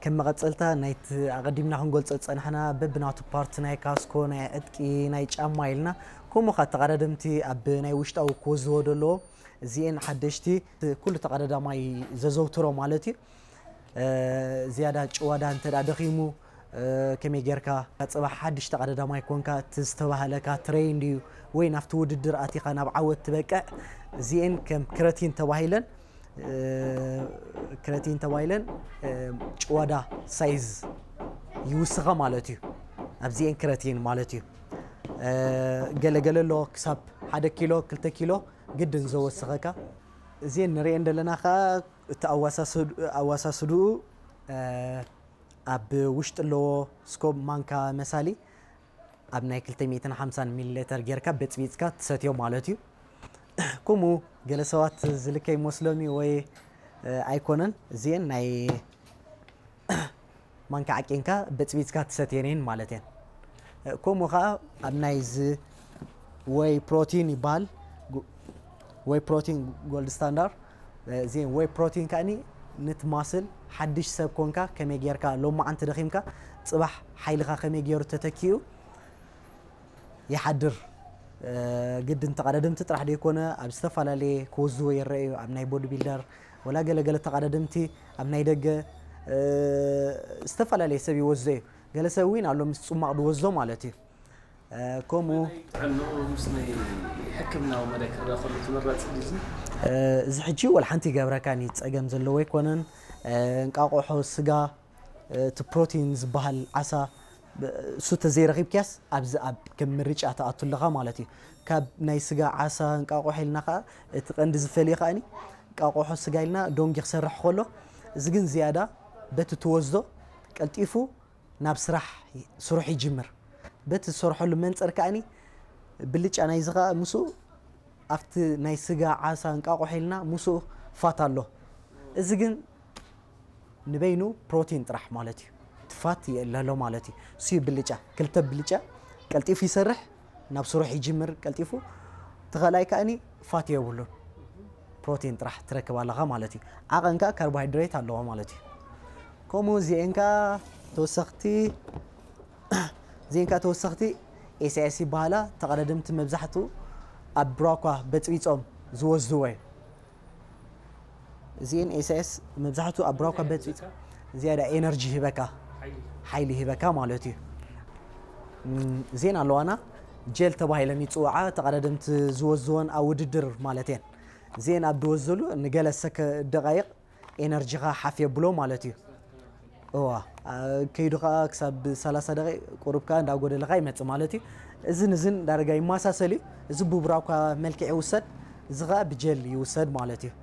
ከም መቐጸልታ ናይቲ ኣቐዲምና ክንገልጾ ዝጸናሕና በብናቱ ፓርት ናይ ካስኮ፣ ናይ ዕጥቂ፣ ናይ ጫማ ኢልና፣ ከምኡ ኸኣ ተቐዳደምቲ ኣብ ናይ ውሽጣዊ ክወዝዎ ዘለዎ፣ እዚኤን ሓደሽቲ ኩሉ ተቐዳዳማይ ዘዘውትሮ ማለት እዩ። ዝያዳ ጭዋዳ እንተ ደኣ ደኺሙ፣ ከመይ ጌርካ ጽባሕ ሓድሽ ተቐዳዳማይ ኮንካ፣ እቲ ዝተባህለካ ትሬንድ እዩ ወይ ናብቲ ውድድር ኣቲኻ ናብ ዓወት ትበቅዕ፣ እዚኤን ከም ክረቲን ተባሂለን፣ ክረቲን ተባሂለን ጭዋዳ ሳይዝ ይውስኻ ማለት እዩ። ኣብዚኤን ክረቲን ማለት እዩ። ገለገለ ኣሎ ክሳብ ሓደ ኪሎ ክልተ ኪሎ ግድን ዘወስኸካ። እዚኤን ንርእየን ዘለና ከኣ እቲ ኣዋሳስድኡ ኣብ ውሽጢ ኣለዎ ስኮብ ማንካ መሳሊ ኣብ ናይ ክልተ ሚእትን ሓምሳን ሚሊ ሌተር ጌርካ በጽቢጽካ ትሰትዮ ማለት እዩ። ከምኡ ገለ ሰባት ዝልከ ይመስሎም እዩ ወይ ኣይኮነን። እዚኤን ናይ ማንካ ዓቂንካ በጽቢጽካ ትሰትየን እየን ማለት እየን። ከምኡ ኸኣ ኣብ ናይዚ ወይ ፕሮቲን ይበሃል፣ ወይ ፕሮቲን ጎልድ ስታንዳርድ። እዚ ወይ ፕሮቲን ከኣኒ ንቲ ማስል ሓድሽ ሰብ ኮንካ ከመይ ጌርካ ሎማዓንቲ ደኺምካ ጽባሕ ሓይልኻ ከመይ ገይሩ ተተኪኡ ይሓድር። ግድን ተቐዳደምቲ ጥራሕ ደይኮነ ኣብ ዝተፈላለየ ክወዝዎ ይረአዩ። ኣብ ናይ ቦዲ ቢልደር ወላ ገለገለ ተቐዳደምቲ ኣብ ናይ ደገ ዝተፈላለየ ሰብ ይወዝዶ እዩ። ገለ ሰብ እውን ኣሎ ምስ ጽማቕ ዝወዝዶ ማለት እዩ። ከምኡ ጥዕንኡ ምስ ናይ ሕክምናዊ መዳይ ክረኣ ከሎ ተመራጺ ድዩ? እዚ ሕጂ ወላ ሓንቲ ይገብረካን እዩ፣ ጸገም ዘለዎ ኣይኮነን። እንቃቆሖ፣ ስጋ፣ እቲ ፕሮቲን ዝበሃል ዓሳ እሱ ተዘይረኺብክያስ ኣብዚ ኣብ ከም ምርጫ ትኣቱ ኣለኻ ማለት እዩ። ካብ ናይ ስጋ ዓሳ እንቃቆሖ ኢልና ከዓ እቲ ቀንዲ ዝፈልዮ ከዓኒ እንቃቆሖ ስጋ ኢልና ዶንጊ ክሰርሕ ከሎ እዚ ግን ዝያዳ በቲ ትወስዶ ቀልጢፉ ናብ ስራሕ ስሩሕ ይጅምር። በቲ ዝሰርሐሉ መንፅር ከዓኒ ብልጫ ናይዚ ከዓ ምስኡ ኣብቲ ናይ ስጋ ዓሳ እንቃቆሖ ኢልና ምስኡ ፋት ኣሎ። እዚ ግን ንበይኑ ፕሮቲን ጥራሕ ማለት እዩ። እቲ ፋት የእለሎ ማለት እዩ። እሱ እዩ ብልጫ። ክልተ ብልጫ ቀልጢፉ ይሰርሕ፣ ናብ ስሩሕ ይጅምር ቀልጢፉ። እቲ ካልኣይ ከኣኒ ፋት የብሉን። ፕሮቲን ጥራሕ ትረክብ ኣለኻ ማለት እዩ። ዓቐን ከኣ ካርቦሃይድሬት ኣለዎ ማለት እዩ። ከምኡ እዚኤን ከኣ ተወሰኽቲ እዚኤን ከኣ ተወሰኽቲ ኤስኤስ ይበሃላ። ተቐዳደምቲ መብዛሕትኡ ኣብ ብራኳ በጽቢጾም ዝወስድዎ እዩ። እዚኤን ኤስኤስ መብዛሕትኡ ኣብ ብራኳ በጽቢጾም ዝያዳ ኤነርጂ ይህበካ፣ ሓይሊ ይህበካ ማለት እዩ። እም፣ እዚኤን ኣለዋና ጀል ተባሂለን ይጽውዓ። ተቐዳደምቲ ዝወስድወን ኣብ ውድድር ማለት እየን። እዚኤን ኣብ ዝወስድሉ ንገለ ሰከ ደቃይቕ ኤነርጂኻ ሓፍ የብሎ ማለት እዩ። እዋ፣ አ፣ ከይዱ ኸዓ ክሳብ ሰላሳ ደቂቕ ቁሩብ ከኣ እንዳጎደለ ኸዓ ይመጽእ ማለት እዩ። እዝን እዝን ዳርጋ ይመሳሰል እዩ። እዚ ብብራኳ መልክዕ ይውሰድ፣ እዚ ኸዓ ብጀል ይውሰድ ማለት እዩ።